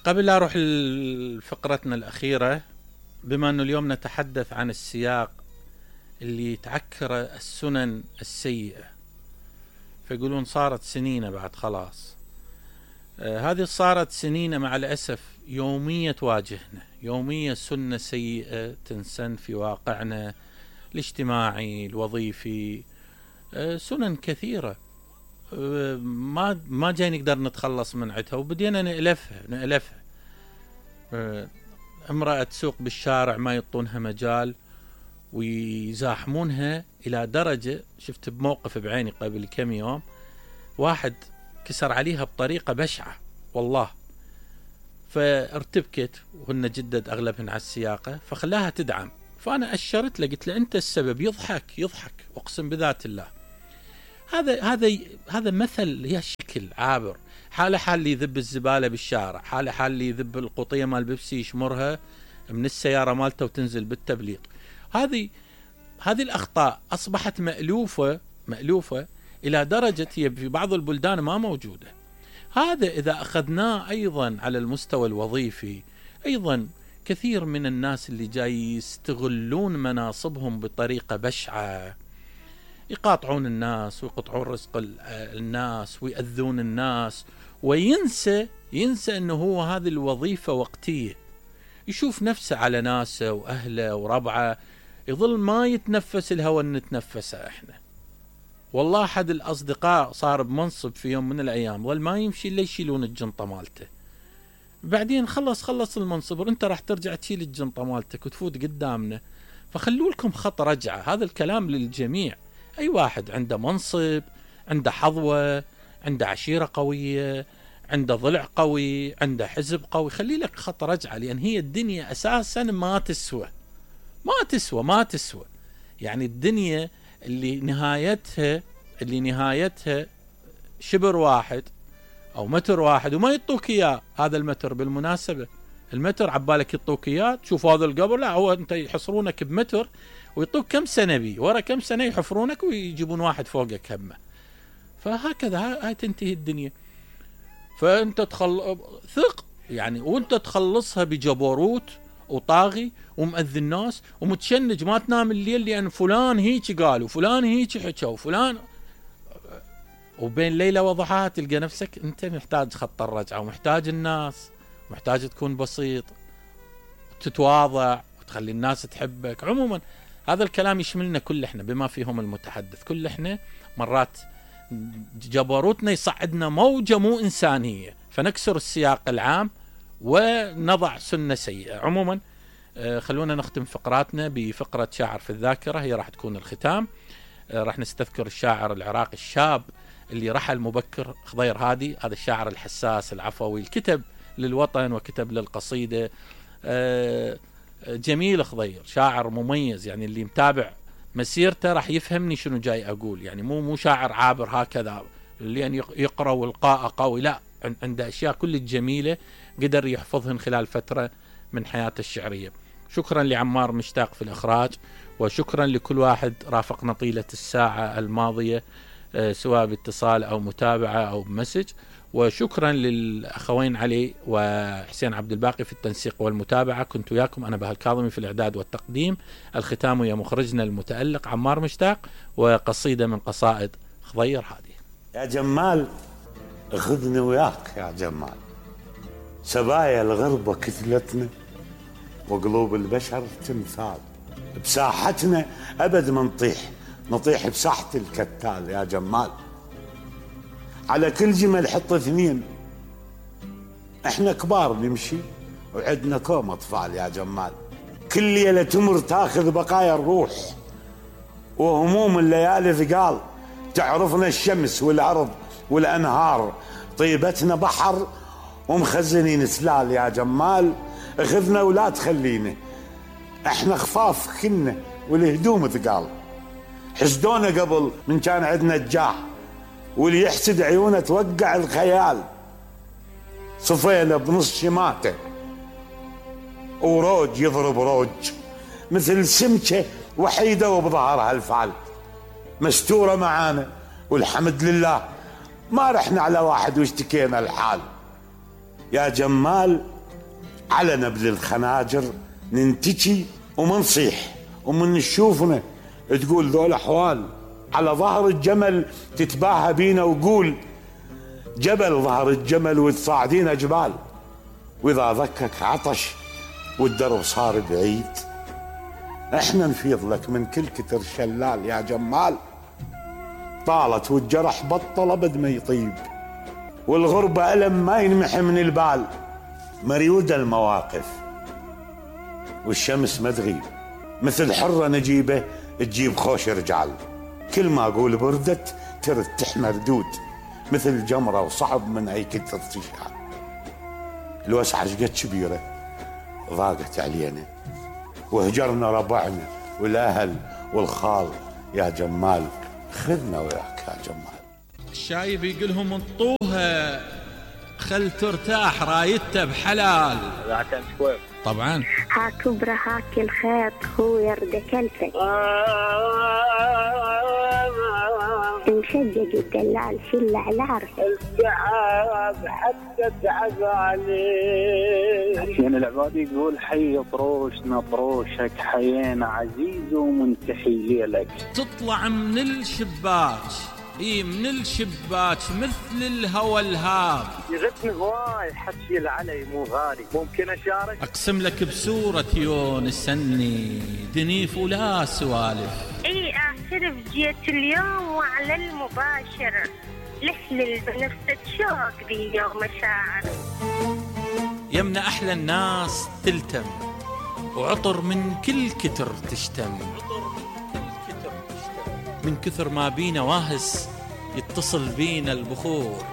قبل لا أروح لفقرتنا الأخيرة، بما أنه اليوم نتحدث عن السياق اللي تعكر السنن السيئة، فيقولون صارت سنين بعد خلاص. هذه صارت سنين مع الأسف يومية تواجهنا، يومية سنة سيئة تنسن في واقعنا الاجتماعي الوظيفي. سنن كثيرة ما جاي نقدر نتخلص من عدها، وبدينا نألفها. امرأة تسوق بالشارع ما يعطونها مجال ويزاحمونها، إلى درجة شفت بموقف بعيني قبل كم يوم واحد كسر عليها بطريقة بشعة والله، فارتبكت وهن جدد أغلبهن على السياقة، فخلاها تدعم. فأنا أشرت له قلت له أنت السبب. يضحك أقسم بذات الله. هذا مثل، هي شكل عابر. حال اللي يذب الزبالة بالشارع، حال اللي يذب القطية مال بيبسي يشمرها من السيارة مالته وتنزل بالتبليط. هذه الأخطاء أصبحت مألوفة إلى درجة هي في بعض البلدان ما موجودة. هذا إذا أخذناه أيضا على المستوى الوظيفي، أيضا كثير من الناس اللي جاي يستغلون مناصبهم بطريقة بشعة، يقاطعون الناس ويقطعون رزق الناس ويأذون الناس، وينسى أنه هو هذه الوظيفة وقتية. يشوف نفسه على ناسه وأهله وربعه، يظل ما يتنفس الهواء اللي نتنفسه احنا. والله أحد الأصدقاء صار بمنصب في يوم من الأيام، ظل ما يمشي إلا يشيلون الجنطة مالته. بعدين خلص المنصب، انت راح ترجع تشيل الجنطة مالتك وتفوت قدامنا. فخلوا لكم خط رجعة. هذا الكلام للجميع. أي واحد عنده منصب، عنده حظوة، عنده عشيرة قوية، عنده ضلع قوي، عنده حزب قوي، خلي لك خط رجعة. لأن هي الدنيا أساسا ما تسوى. يعني الدنيا اللي نهايتها شبر واحد أو متر واحد، وما يطوك إياه. هذا المتر بالمناسبة، المتر عبالك يطوك إياه تشوف هذا القبر، لا هو أنت يحصرونك بمتر ويطوك كم سنة بيه، ورا كم سنة يحفرونك ويجيبون واحد فوقك همه. فهكذا هاي تنتهي الدنيا. فأنت ثق يعني، وأنت تخلصها بجبروت وطاغي ومؤذي الناس ومتشنج، ما تنام الليل لأن فلان هيك قال وفلان هيك حكى وفلان، وبين ليلة وضحاها تلقى نفسك أنت محتاج خط الرجعة، ومحتاج الناس، محتاج تكون بسيط وتتواضع وتخلي الناس تحبك. عموما هذا الكلام يشملنا كل احنا بما فيهم المتحدث. كل احنا مرات جبروتنا يصعدنا موجة مو إنسانية، فنكسر السياق العام ونضع سنة سيئة. عموما خلونا نختم فقراتنا بفقرة شاعر في الذاكرة، هي راح تكون الختام. راح نستذكر الشاعر العراقي الشاب اللي رحل مبكر، خضير هادي. هذا الشاعر الحساس العفوي، الكتب للوطن وكتب للقصيدة. جميل خضير، شاعر مميز، يعني اللي متابع مسيرته راح يفهمني شنو جاي أقول. يعني مو شاعر عابر هكذا اللي يقرأ والقاء قوي، لا، عنده أشياء كل الجميلة قدر يحفظهن خلال فترة من حياته الشعرية. شكرا لعمار مشتاق في الإخراج، وشكرا لكل واحد رافقنا طيلة الساعة الماضية سواء باتصال أو متابعة أو بمسج. وشكرا للأخوين علي وحسين عبد الباقي في التنسيق والمتابعة. كنت وياكم أنا بهاء الكاظمي في الإعداد والتقديم. الختام يا مخرجنا المتألق عمار مشتاق، وقصيدة من قصائد خضير هادي. يا جمال خذني وياك يا جمال، سبايا الغربة كتلتنا وقلوب البشر تمثال، بساحتنا أبد ما نطيح بساحة الكتال يا جمال. على كل جمل حط اثنين، احنا كبار نمشي وعدنا كوم اطفال يا جمال. كل ليلة تمر تاخذ بقايا الروح وهموم الليالي ثقال، تعرفنا الشمس والارض والانهار، طيبتنا بحر ومخزنين سلال يا جمال. اخذنا ولا تخلينا، احنا خفاف كنا والهدوم ثقال. حسدونا قبل من كان عندنا الجاه، واللي يحسد عيونه توقع الخيال. صفينا بنص شماته وروج يضرب روج، مثل سمكة وحيدة وبظهرها الفعل. مستورة معانا والحمد لله، ما رحنا على واحد واشتكينا الحال. يا جمال على نبل الخناجر ننتجي ومنصيح، ومن نشوفنا تقول ذول احوال، على ظهر الجمل تتباهى بينا وقول جبل ظهر الجمل وتصاعدين جبال، واذا ذكك عطش والدرب صار بعيد احنا نفيض لك من كل كتر شلال يا جمال. طالت والجرح بطل ابد ما يطيب، والغربة ألم ما ينمحي من البال، مريودة المواقف والشمس ما تغيب، مثل حرة نجيبة تجيب خوش رجال، كل ما اقول بردت ترد تحمى ردود، مثل جمرة وصعب من اي كتر تشعل. الوسعة شقد كبيرة ضاقت علينا، وهجرنا ربعنا والاهل والخال يا جمال، خذنا وياك يا جمال. الشايب يقولهم انطوها خل ترتاح رايدته بحلال. طبعا هاك برا هاك الخيط هو يرد كلفك، مشجج الدلال شل على عرفك، التعب حتى تعب عليه. حسين العبادي يقول حي طروشنا طروشك، حيينا عزيز ومنتحي ليلك. تطلع من الشباك، من الشباك مثل الهوى الهاب، يغثني هواي حكي العلي مو غالي، ممكن اشارك؟ اقسم لك بسورة يونس اني دنيف ولا سوالف. اعترف جيت اليوم وعلى المباشر، لحلل بنفسك شوق بي يوم مشاعر. يمنا احلى الناس تلتم، وعطر من كل كتر تشتم، من كثر ما بينا واهس يتصل بينا البخور.